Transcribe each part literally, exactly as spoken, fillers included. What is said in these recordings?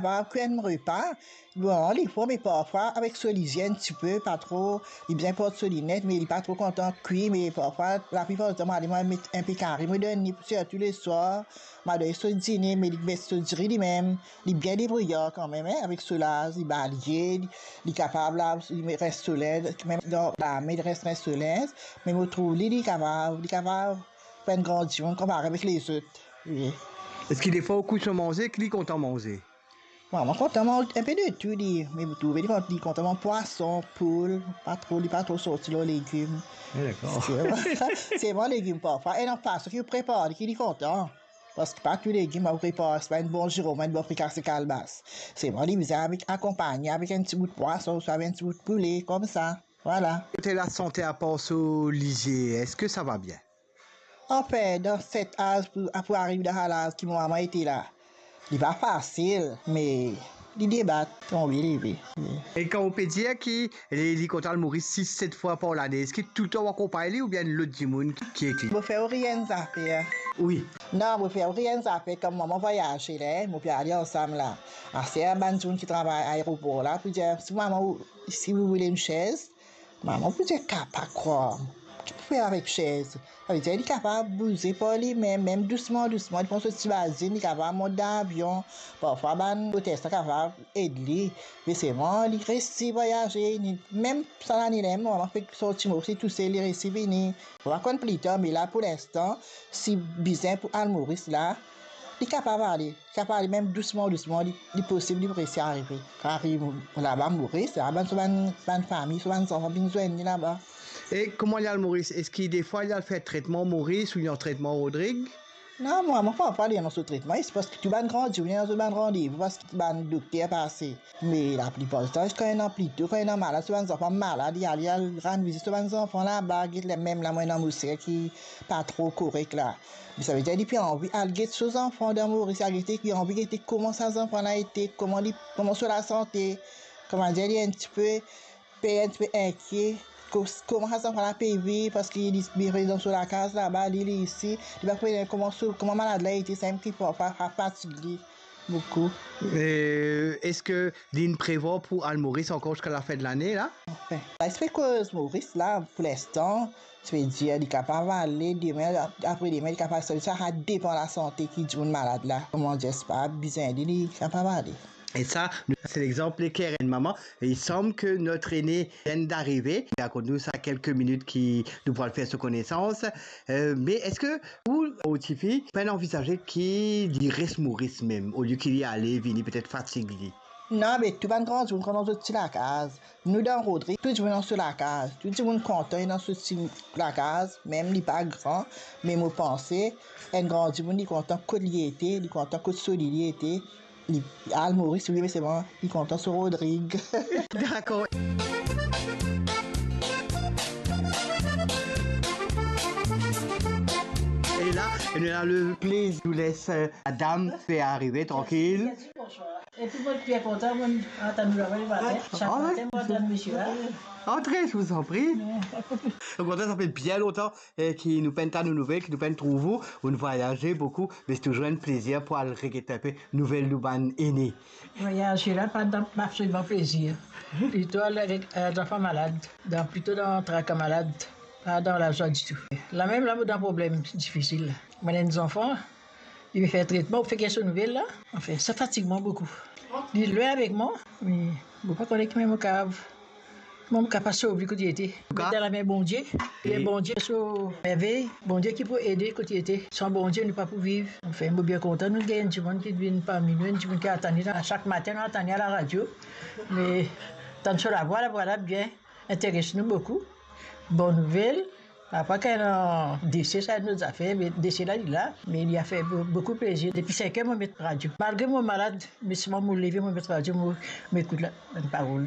Kapav kwi enn repa, bon, li for, me parfwa avek so lizie enn tipe, pa tro, li bizin port so linet, me li pa tro kontan kwi, me parfwa, laplipar ditan, mo ale, mo met inpe kari, mo donn li, sirtou leswar, mo donn li so dine, me li met so diri limem. Li bien debriye kanmem, hein, avek so laz, li balye, li, li kapav lav, li res so linz, mem dan lame, li res, res so linz, me mo trouv li, li kapav, li kapav fer enn gran dimoun konpare avek lezot. Wi. Eski defwa ou kwi so manze, ki li kontan manze? Mwa, mo kontan manz inpe de tou, li, me mo trouve li kont-, li kontan manz pwason, poul, pa tro, li pa tro sorti lor legim. Ah, dakor. Selman, selman legim parfwa, e dan fason ki ou prepar li ki li kontan. Parski pa tou legim ou prepar, se pa enn bon zirom, enn bon frikase kalbas. Selman li bizin avek, akonpagne avek enn ti bout pwason, ouswa avek enn ti bout poule, koumsa. Vwala. Kote lasante, apar so lizie, eski sa va bien? Anfin, dan set az pou, pou ariv dan sa laz ki mo mama ete la, li pa fasil, me li debat, tonbe, leve. E kan ou pe dir ki li, li kontan al Moris sis, set fwa par lane, eski toultan ou akonpagn li oubien lot dimoun ki, ki ek li? Mo fer ou rienn zafer. Wi. Non, mo fer ou rienn zafer, kan mo mama vwayaze la, mo pe ale ansam la. Aster bann dimoun ki travay aeropor la pou dir, si mama ou, si vous voulez une chaise, mama pou dir, ka pa krwar. Ki pou fer avek sez? Savedir li kapav bouze par limem, mem dousman, dousman, li pran so ti bazin, li kapav mont dan avion. Parfwa bann otes la kapav ed li. Me selman, li resi vwayaze, li, mem sa lane la, mo mama fek sorti Moris tousel, li resi vini. Mo pa konn plitar, me la pou linstan, si bizin pou al Moris la, li kapav ale. Kapav ale mem dousman, dousman, li, li posib li pou resi arive. Ariv laba Moris, laba so bann, bann fami, so bann zanfan vinn zwenn li laba. E kouma li al Moris? Eski defwa li al fer tretman Moris ou li an tretman Rodrig? Non, mwa, mo pa, pa ale dan so tretman, se parski tou bann gran dimoun ena zot bann randevou, parski bann dokter pase. Me laplipar ditan, kan ena plito, kan ena malad, so bann zanfan malad, li ale, al rann vizit so bann zanfan laba, get la, mem la, mo ena mo ser ki pa tro korek la. Me savedir, li pe anvi al get so zanfan dan Moris, al gete, li anvi gete kouma sa zanfan la ete, kouma li, kouma so lasante, kouma dir, li enn tipe per, enn tipe inkie, ko-, kouma sa zanfan la pe viv, parski li, li reste dan so lakaz laba, li, li isi, li pa konn kouma so, kouma malad la ete, samem ki pa, pa, pa fatig li boukou. E eski li'nn prevwar pou al Moris ankor ziska lafin de lane la? Anfin, la, li pe koz Moris la, pou linstan, ti pe dir, li kapav ale, demin, apre demin, li kapav sot, sa, sa depan lasante ki dimoun malad la. Kouma dir, pa bizin li, li kapav ale. E sa, nou, se lexanp leker enn mama. E il semble que notre aîné vient d'arriver. Li rakont nou sa kelke minit ki nou pou al fer so konesans. Euh, me eski ou, ou tifi, pa'nn anvizaze ki li res Moris mem, olie ki li ale vini, petet fatig li? Non, be tou bann gran dimoun kontan zot ti lakaz. Nou dan Rodrig, tou dimoun dan so lakaz. Tou dimoun kontan dan so ti lakaz, mem li pa gran, me mo panse, enn gran dimoun, li kontan kot li ete, li kontan kot so li, li ete. Li al Moris, wi, me selman li kontan so Rodrig. Dakor. E la, nou ena le plezir, nou les, euh, madam pe arive trankil. Epi mo bien kontan, mo atann nou laba le matin. Sak matin, mo atann misie la. Antre, je vous en prie. Au contraire, ça fait bien longtemps, eh, ki nou pa'nn tann ou nouvel, ki nou pa'nn trouv ou. Ou'nn vwayaze boukou, me se touzour enn plezir pou al reget inpe nouvel nou bann ene. Vwayaze la, pa dan, absoliman plezir. Plito al, euh, zanfan malad, dan, plito dan traka malad, pa dan lazwa ditou. La mem la, mo dan problem difisil la. Mo ena enn zanfan, li pe fer tretman, ou fek so nouvel la. Anfin, sa fatig mwa boukou. Li lwin avek mwa, me mo pa kone ki mem mo kapav, mwa mo kapav sov li kot li ete. Met dan lame Bondie. E Bondie so mervey, Bondie ki pou ede kot li ete. San Bondie, nou pa pou viv. Anfin, mo bien kontan nou gagn enn dimoun ki vinn parmi nou, enn dimoun ki atann li, sak matin nou atann li a laradio. Me tann so lavwa, lavwa la bien interes nou boukou. Bon nouvel. Apa kan ena dese, sa enn lot zafer, me dese la, li la, me li a fer bo-, boukou plezir. Depi sink er, mo met radio. Malgre mo malad, me selman mo leve, mo met radio, mo, mo ekout la, bann parol.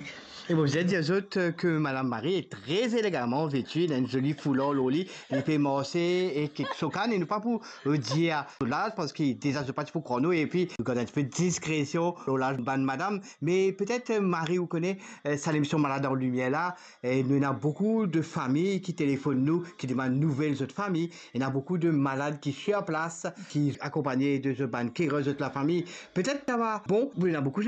E mo bizin dir zot, euh, ke Madame Marie est très élégamment vêtue, li ena enn zoli foular lor li, li pe marse ek, ek so kann, e nou pa pou, euh, dir so laz, parski deza zot pa ti pou krwar nou, epi nou gard enn tipe diskresion lor laz bann madam. Me petet, euh, Marie, ou kone, euh, sa lemision Malad an Limier la, e nou ena boukou de fami ki telefonn nou, ki demann nouvel zot fami. Ena boukou de malad ki sir plas, ki akonpagne de zot bann kerer, zot lafami. Petet sa va bon, ena boukou